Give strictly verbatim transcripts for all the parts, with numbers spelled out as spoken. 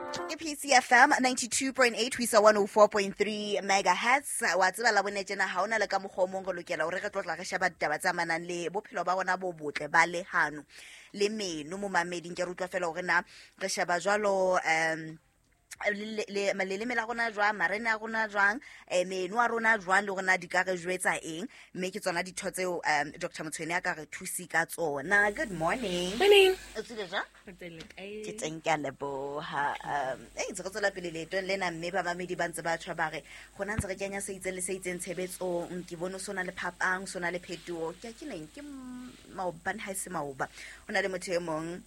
Ke P C F M ninety-two point eight ho isa one oh four point three megahertz. Wa tseba la bone tjena ha hona le ka mokgwa o mong re lokela hore re tlotla re sheba ditaba tse amanang le bophelo ba rona bo botle ba lehano le meno. Momameding, ke re utlwa fela hore na re sheba jwalo um le- le- leleme la rona jwang, marene a rona jwang, um meno a rona jwang, le rona di ka re jwetsa eng, mme ke tsona ditho tseo um Doctor Motshwene a ka re thusi ka tsona. Good morning. Morning. O tsile jwang? Ke teng, ke a leboha. um e ntse re tswela pele leetong lena, mme bamamedi ba ntse ba tjho ba re gona ntse re kenya se itseng le se itseng tshebetsong. Ke bone so na le phapang, so na le phetoho. Ke ke neng ke m- maobane, ha e se maoba, ho na le motho e mong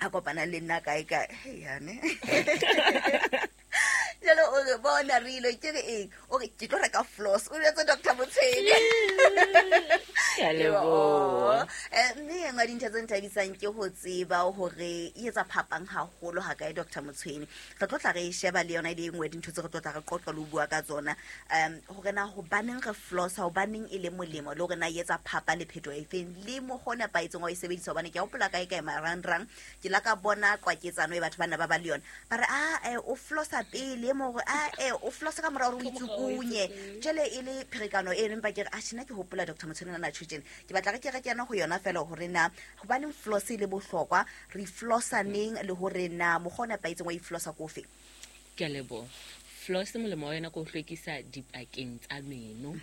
a kopana le nna kae kae. Hei, yane jalo o re bona re ile ke re eng, o re ke tlo reka floss, o jwetse Doctor Motshwene. Ke a leboha. Eh, mme e nngwe ya dintho tse nthabisang ke ho tseba hore e etsa phapang haholo ha kae. Doctor Motshwene, re tlo tla re e sheba le yona e le e nngwe ya dintho tse re tlo tla re qoqa le ho bua ka tsona, um hore na hobaneng re flossa, hobaneng e le molemo, le hore na e etsa phapa le phetoho e feng, le mokgwa o nepahetseng wa ho e sebedisa. Hobane ke a hopola kae kae marangrang ke la ka bona qwaketsano e batho ba na ba ba le yona, ba re a eh, o flossa pele, e mong hore a eh, o flossa ka mora hore o itsukunye. Jwale e le pherekano eno, empa ke re atjhe, nna ke hopola Doctor Motshwene na tjho tjena, ke batla re ke re kena ho yona fela hore na hobaneng floss e le bohlokwa, re flossa neng, le hore na mokgwa o nepahetseng wa e flossa ko ofe. Ke a leboha. Floss, molemo wa yona ke ho hlwekisa dipakeng tsa meno,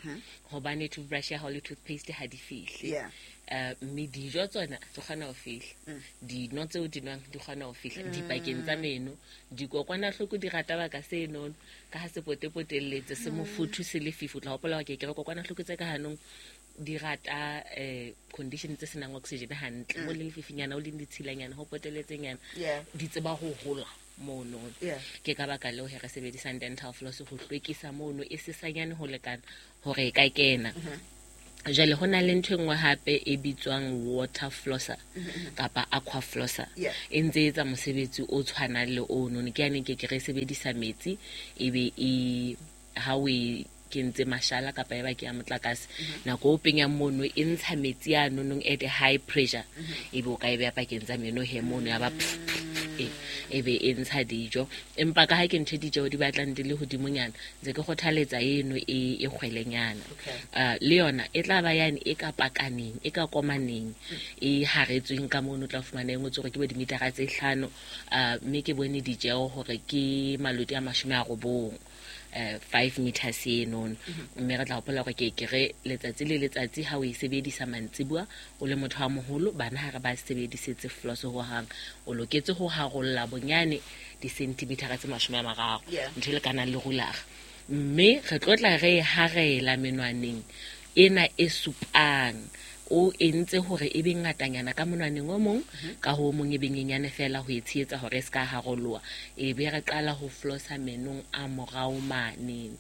hobane toothbrush ya hao le toothpaste ha di fihle. Yeah. Eh, mme dijo tsona di kgona ho fihla, dino tseo di nwang di kgona ho fihla dipakeng tsa meno. Dikokwanahloko di rata baka senono ka ha se potepotelletse, se mofuthu, se lefifi. O tla hopola hore ke ke re kokwanahloko tse ka hanong di rata eh condition tse senang oxygen hantle, mo le lefifinyana, o leng ditshilanyana, ho poteletsenyana, Yeah. di tseba ho hola mono. Yeah. Ke ka baka leo he re sebedisang dental floss ho hlwekisa mono, e sesanyane ho lekana hore e ka kena. Jwale ho na le ntho e nngwe hape e bitswang water flosser kapa aqua flosser. Yeah. E ntse e etsa mosebetsi o tshwanang le ono. Ke yane ke ke re sebedisa metsi, ebe e ha o e kentse mashala kapa e ba ke ya motlakase, nako o penyang mono e ntsha metsi a nonong at a high pressure, ebe o ka e beha pakeng tsa meno he mono, ya ba pf, pf, pf, e e be e ntsha dijo. Empa ka ha ke ntho e dijo di batlang di le hodimonyana, ntse ke kgothaletsa eno e e kgwelenyana. Okay. Uh, le yona e tla ba yane e ka pakaneng, e ka komaneng, e haretsweng ka mono. O tla fumana e ngotswe hore ke bo dimitara tse hlano, uh, mme ke bone ditjeho hore ke maloti a mashome a robong, eh five meters enono. Mme re tla hopola hore ke ke re letsatsi le letsatsi ha o e sebedisa mantsibuya o le motho wa moholo, bana ha re ba sebedisetse floss hohang, o loketse ho harolla bonyane di-centimetera tse mashome a mararo, Yeah. ntho e lekanang le rulara. Mme re tlo tla re e harela menwaneng ena e supang, o entse hore e be ngatanyana ka monwaneng o mong, ka ho o mong e be nyenyane fela, ho e tshehetsa hore e se ka haroloha. E be re qala ho flossa menong a morao manene.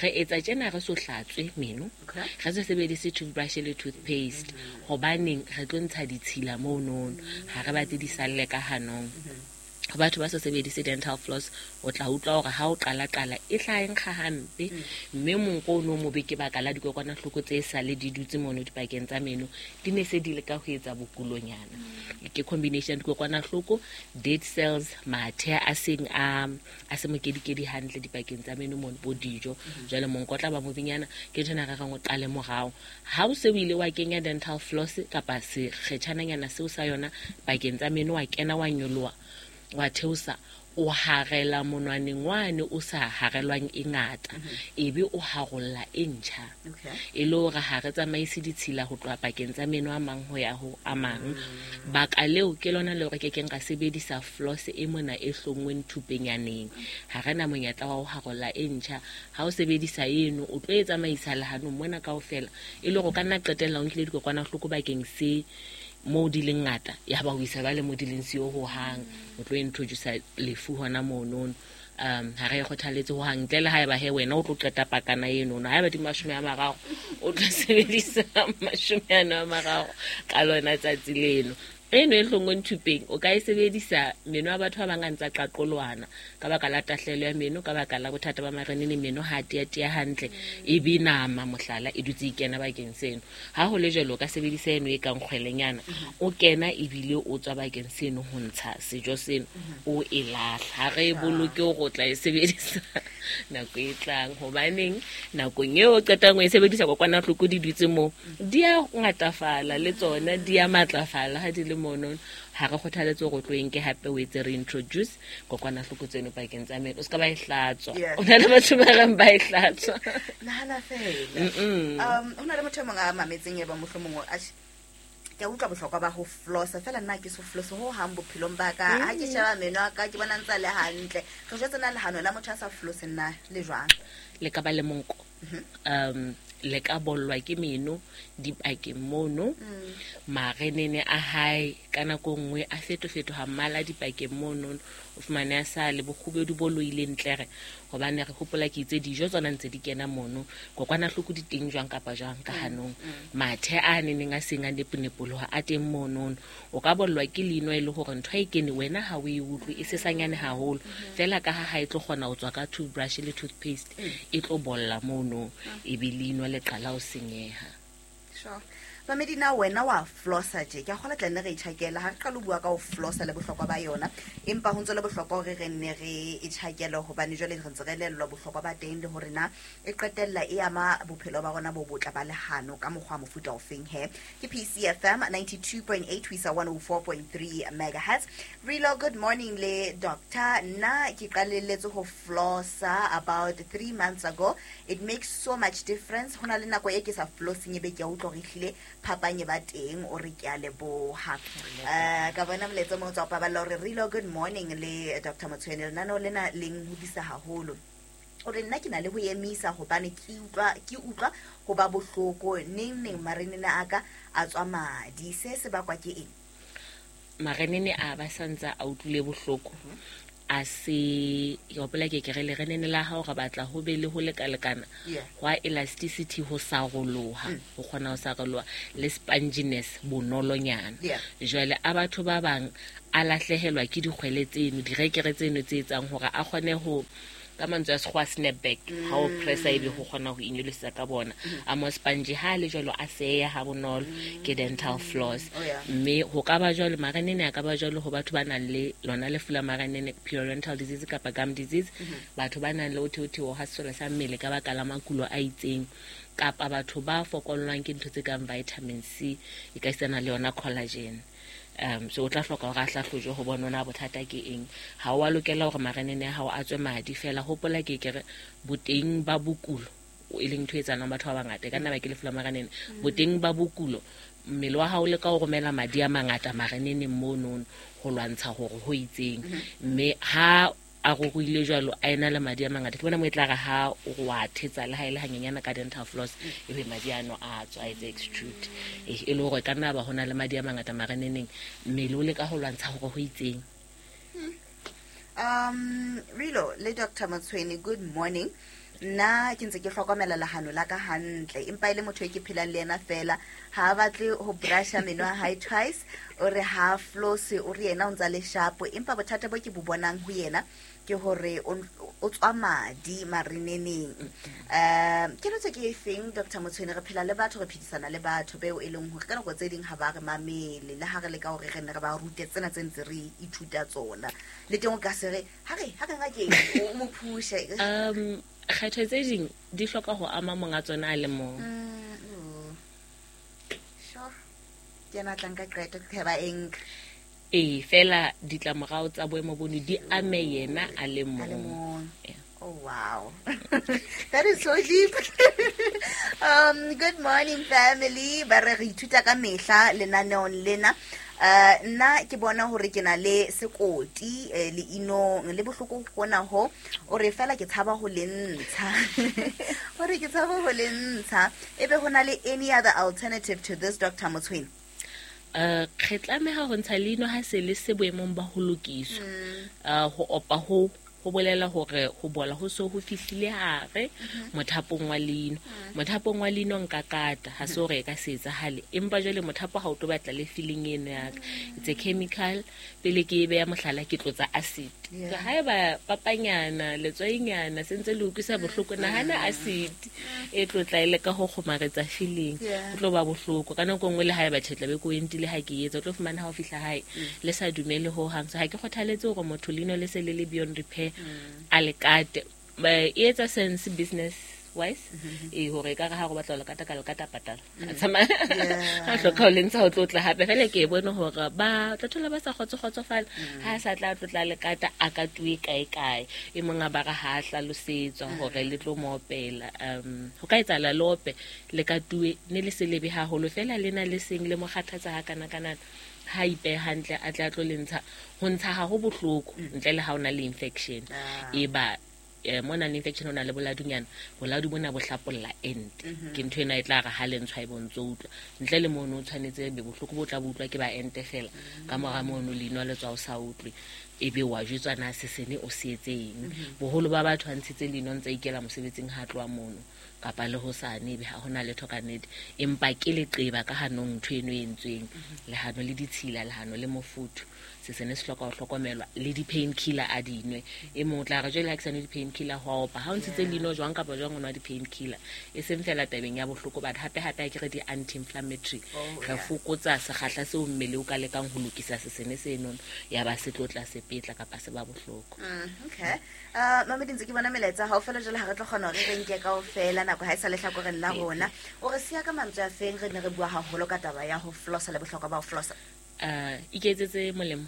Re etsa tjena re so hlatswe meno, Okay. re se sebedise toothbrush le toothpaste, hobaneng re tlo ntsha ditshila monono, ha re batle di salle ka hanong. Ho batho ba sa sebedise dental floss, o tla utlwa hore ha o qala-qala e tla e nkga hampe, mme monko o no mobe ke baka la dikokwanahloko tse sale di dutse mono dipakeng tsa meno, di ne se di le ka ho etsa bokulonyana. Ke combination ya dikokwanahloko, dead cells, mathe a seng a a se mokedikedi hantle dipakeng tsa meno mono, bo dijo. Jwale monko o tla ba mobenyana. Ke nthwena re reng o qale morao. Ha o se o ile wa kenya dental floss kapa sekgetjhananyana seo sa yona pakeng tsa meno, wa kena, wa nyoloha, wa theosa, o harela monwaneng wane o sa harelwang e ngata, ebe o harolla e ntjha, Okay. e le hore ha re tsamaise ditshila ho tloha pakeng tsa meno a mang ho ya ho a mang. Baka leo ke lona le hore ke keng ra sebedisa floss e mona e hlonngweng thupenyaneng, ha re na monyetla wa ho harolla e ntjha. Ha o sebedisa eno, o tlo e tsamaisa lehanong mona kaofela, e le hore o ka nna qetella o nkile dikokwanahloko bakeng se moo di leng ngata, ya ba o isa jwale mo di leng siyo hohang, o tlo introduce lefu hona monono. um ha re e kgothaletse hohang, ntle le haeba he wena o tlo qeta pakana enono. Haeba di mashome a mararo, o tlo sebedisa mashome ano a mararo ka lona tsatsi leno. Eno e hlongweng thupeng o ka e sebedisa meno a batho ba bang a ntsa qaqolwana ka baka la tahlehelo ya meno, ka baka la bothata ba marenene, meno ha tia tia hantle, e be nama mohlala e dutse e kena bakeng seno. Ha ho le jwalo o ka sebedisa eno e kang kgwelenyana, o kena ebile o tswa bakeng seno ho ntsha sejo seno, o e lahla. Ha re e boloke hore o tla e sebedisa nako e tlang, hobaneng nakong eo o qetang ho e sebedisa kokwanahloko di dutse moo, di a ngatafala le tsona, di a matlafala ha di le mono. Ha re kgothaletse hore o tlo e nke hape o etse reintroduce kokwanahloko tseno pakeng tsa meno, o se ka ba e hlatswa. Yeah. O na le batho ba reng ba e hlatswa. Nahana fela. Um ho na le motho e mong a mametseng e ba mohlomong o atjhe, ke a utlwa bohlokwa ba ho flossa, fela nna ke so flosse ho hang bophelong ba ka. Ha ke sheba meno a ka ke bona ntse a le hantle. Re jwetse na lehano la motho a sa flosse nna le jwang? Le ka ba le monko. Um le ka bollwa ke meno dipakeng mono, marenene a hae ka nako nngwe a fetofetoha mmala dipakeng mono, o fumane a sa le bokgubedu bo loileng ntlere, hobane re hopola ke itse dijo tsona ntse di kena mono, kokwanahloko di teng jwang kapa jwang ka hanong, mathe a neneng a seng a neponepoloha a teng monono. O ka bollwa ke leino e le hore ntho e kene wena ha o e utlwe, e sesanyane haholo fela, ka ha ha e tlo kgona ho tswa ka toothbrush le toothpaste, e tlo bolla mono, e be leino le qala ho senyeha. Sure. Mamedi, na wena wa flossa tje? Ke a kgolwa tla nne re itjhakela ha re qala ho bua ka ho flossa le bohlokwa ba yona, empa ho ntse le bohlokwa hore re nne re itjhakele, hobane jwale re ntse re elellwa bohlokwa ba teng le hore na e qetella e ama bophelo ba rona bo botle ba lehano ka mokgwa wa mofuta ofeng he. Ke P C F M ninety-two point eight ho isa one oh four point three megahertz. Relo, good morning le doctor. Nna ke qalelletse ho flossa about three months ago. It makes so much difference. Ho na le nako e ke sa flossing ebe ke a utlwa hore ehlile phapang e ba teng, o re ke a leboha. Eh, ka bona molaetsa o mong o tswa Paballo hore Relo, good morning le Doctor Motshwene, lenaneo lena le nhodisa haholo. O re nna ke na le ho emisa hobane ke utlwa, ke utlwa ho ba bohloko neng neng marenene a ka a tswa madi. Se se bakwa ke eng? Marenene a ba santsa a utlwile bohloko, a se, ke hopola ke ke re lerenene la hao re batla ho be le ho lekalekana Yeah. hwa elasticity, ho saroloha, Mm. ho kgona ho saroloha le sponginess, bonolonyana. Yeah. Jwale a batho ba bang a lahlehelwa ke dikgwele tseno, direkere tseno tse etsang hore a kgone ho, ka mantswe a sekgowa, snap back, ha o pressa ebe ho kgona ho inyolosetsa ka bona. A mo sponge ha le jwalo a seya ha bonolo ke dental floss. Oh, yeah. Mme ho ka ba jwalo marenene a ka ba jwalo ho batho ba nang le lona lefu la marenene, periodontal disease kapa gum disease, batho ba nang le ho theotheoha ha sesole sa mmele ka baka la makulo a itseng, kapa batho ba fokollwang ke ntho tse kang vitamin C, e ka isana le yona collagen. Um, so o tla hloka hore a hlahlojwe ho bona na bothata ke eng. Ha o a lokela hore marenene a hao a tswe madi fela. Hopola ke ke re boteng ba bokulo, e leng ntho e etsahalang batho ba bangata, e ka nna ba ke lefu la marenene. Boteng ba bokulo, mmele wa hao o leka ho romela madi a mangata mareneneng monono ho lwantsha hore ho itseng. Mme ha a ruruhile jwalo, a ena le madi a mangata, ke bona mo e tla re ha o wa thetsa le ha e le hanyenyana ka dental floss, ebe madi ano a tswa, a etse extrude. E, e le hore e ka nna ba ho na le madi a mangata mareneneng, mmele o leka ho lwantsha hore ho itseng. Um, Relo le Doctor Motshwene, good morning. Nna ke ntse ke hlokomela lehano la ka hantle, empa e le motho e ke phelang le yena fela, ha a batle ho brusha meno a hae twice, o re ha floss, o re yena o ntsa le sharp, empa bothata bo ke bo bonang ho yena ke hore o, o tswa madi mareneneng. Um, keletso ke efeng Doctor Motshwene? Re phela le batho, re phedisana le batho beo e leng hore ka nako tse ding ha ba re mamele, le ha re leka hore re nne re ba rute tsena tse ntse re ithuta tsona, le teng o ka se re ha re, ha re ngakeng, o mo phushe. Um, kgetho tse ding di hloka ho ama monga tsona a le mong. Mm, oh. Sure. Ke yena a tla nka qeto, ke ba eng? Ee, fela ditlamorao tsa boemo bono di ame yena a le A le mong. mong. Yeah. Oh, wow. That is so deep. Um, good morning, family. Ba re re ithuta ka mehla lenaneong lena. Eh, nna ke bona hore ke na le sekoti, eh, leinong le bohloko hona ho, o re fela ke tshaba ho le ntsha. O re ke tshaba ho le ntsha. Ebe ho na le any other alternative to this, Doctor Motshwene? Eh, re tlameha ho ntsha leino ha se le se boemong ba ho lokiswa. Mm. Eh, ho opa ho ho bolela hore ho bola ho so ho fihlile hare mothapong wa leino. Mothapong wa leino nka kata ha se hore e ka se etsahale, empa jwale mothapo ha o tlo batla le feeling eno ya ka. It's a chemical, pele ke e beya mohlala ke tlotsa acid. Yeah. Haeba papanyana letswainyana se ntse le utlwisa bohloko, nahana acid e tlotla ile ka ho kgomaretsa feeling, Yeah. o tlo ba bohloko ka nako nngwe. Le haeba tjhe tla be ko entile ha ke etsa, o tlo fumana ha o fihla hae le sa dumele ho hang. So ha ke kgothaletse hore motho leino le se le le beyond repair a le kate. Ba- e etsa sense business wise e hore ekare ha go batla ho le kata ka le kata patala a tsamaya Yeah. ha hloka ho le ntsha ho tlotla hape fela. Ke e bone hore ba tla thola ba sa kgotso-kgotsofala ha a sa tla tlotla le kata a ka tuwe kae kae. E mong a ba re ha a hlalosetswa hore le tlo mo opela, um ho ka etsahala le ope le ka tuwe ne le se lebe haholo fela, le na le seng le mo kgathatsa ha kana kana ha ipehe hantle a tle a tlo le ntsha. Ho ntsha ha ho bohloko ntle le ha o na le infection. Ah. E ba eh, mo nang le infection o na le boladunyana, boladu bona bo hlapolla ente, ke ntho ena e tla re ha le ntshwa e bontso utlwa. Ntle le mono o tshwanetse be bohloko bo tla bo utlwa ke ba ente fela. Ka mora mono leino le tswa o sa utlwe, ebe wa jwetswa na sesene o se etseng. Boholo ba batho ba ntshitse leino ntse a ikela mosebetsing ha a tloha mono kapa le hosane, ebe ha hona letho ka nnete, empa ke leqeba ka hanong ntho eno e entsweng. Lehano le ditshila, lehano le mofuthu, sesene se hloka ho hlokomelwa. Le di-pain killer a dinwe. E mong o tla re jwale ha ke sa nwe di-pain killer ho a opa. Ha o ntshitse leino jwang kapa jwang o nwa di-pain killer, e seng fela tabeng ya bohloko, but hape hape ha ke re di-anti-inflammatory, Oh, re yeah. fokotsa sekgahla seo mmele o ka lekang ho lokisa sesene senono, ya ba se tlo tla sepetla kapa se ba bohloko. Mm, okay uh mamedi, ntse ke bona melaetsa ha o fela jwale ha re tlo kgona hore re nke kaofela, nako ha e sa lehlakoreng la rona. O re siya ka mantswe a feng? Re ne re bua haholo ka taba ya ho flossa le bohlokwa ba ho flossa. uh iketsetse molemo,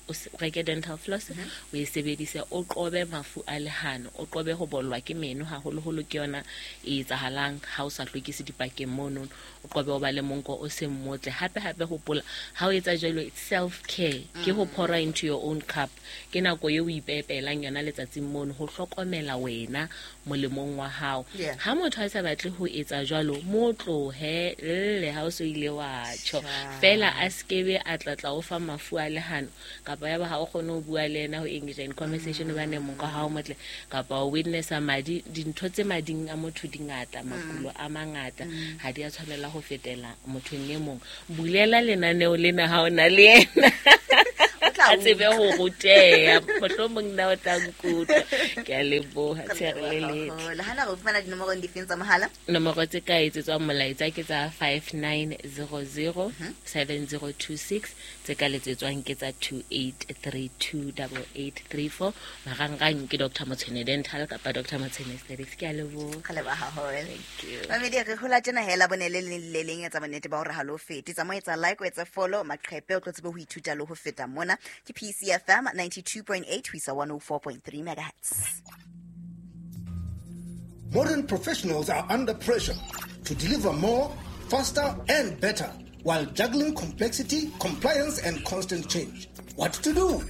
o se- o reke dental floss o e sebedise, o qobe mafu a lehano, o qobe ho bollwa ke meno haholoholo, ke yona e etsahalang ha o sa hlwekise dipakeng mono. O qobe ho ba le monko o seng motle. Hape hape hopola ha o etsa jwalo, it's self care, ke ho pour into your own cup, ke nako eo o ipepelang yona letsatsing mono ho hlokomela wena molemong wa hao. Yeah. Ha motho a sa batle ho etsa jwalo, mo tlohe lle ha o so ile wa tjho. Sha. Fela a skebe a tlatla o fa mafu a lehano, kapa ya ba ha o kgone ho bua le yena, ho engage in conversation hobane monko ha o motle, kapa o witnessa madi. Dintho tse mading a motho di ngata, makulo a mangata ha di a tshwanela ho fetela mothong e mong. Bulela lenaneo lena ha o na le yena, O tla a tsebe ho ruteha, mohlomong nna o tla nkutlwa. Ke a leboha, tsheare le letle. Le hana re fumana dinomorong difeng tsa mohala? Nomoro tse ka etsetswang molaetsa ke tsa five nine zero zero seven zero two six, tse ka letsetswang ke tsa two eight three two double eight three four. Marangrang ke Doctor Motshwene Dental kapa Doctor Motshwene Aesthetics. Ke a leboha. Re leboha haholo. Thank you. Mamedi, re hola tjena hela bone le leng le leng. Etsa bonnete ba hore ha lo fete tsa mo etsa like, o etse follow maqhepe, o tlo tsebe ho ithuta le ho feta mona. Ke P C F M ninety-two point eight ho isa one oh four point three megahertz. Modern professionals are under pressure to deliver more, faster, and better while juggling complexity, compliance, and constant change. What to do?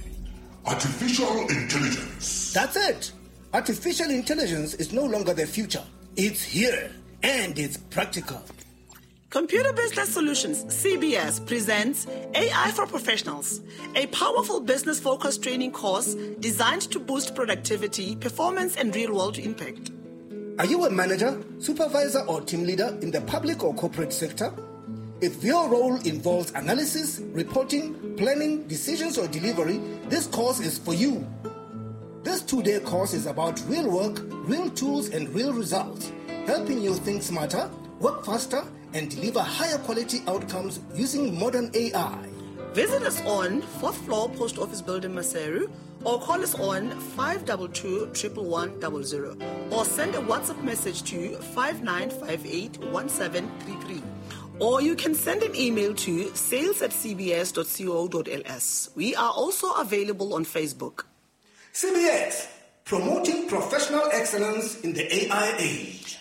Artificial intelligence. That's it. Artificial intelligence is no longer the future. It's here and it's practical. Computer Business Solutions, C B S, presents A I for Professionals, a powerful business focused training course designed to boost productivity, performance, and real world impact. Are you a manager, supervisor, or team leader in the public or corporate sector? If your role involves analysis, reporting, planning, decisions, or delivery, this course is for you. This two day course is about real work, real tools, and real results, helping you think smarter, work faster, and deliver higher quality outcomes using modern A I. Visit us on fourth floor, Post Office Building, Maseru, or call us on five two two one one one zero zero or send a WhatsApp message to five nine five eight one seven three three. Or you can send an email to sales at c b s dot co dot l s. We are also available on Facebook. C B S, promoting professional excellence in the A I age.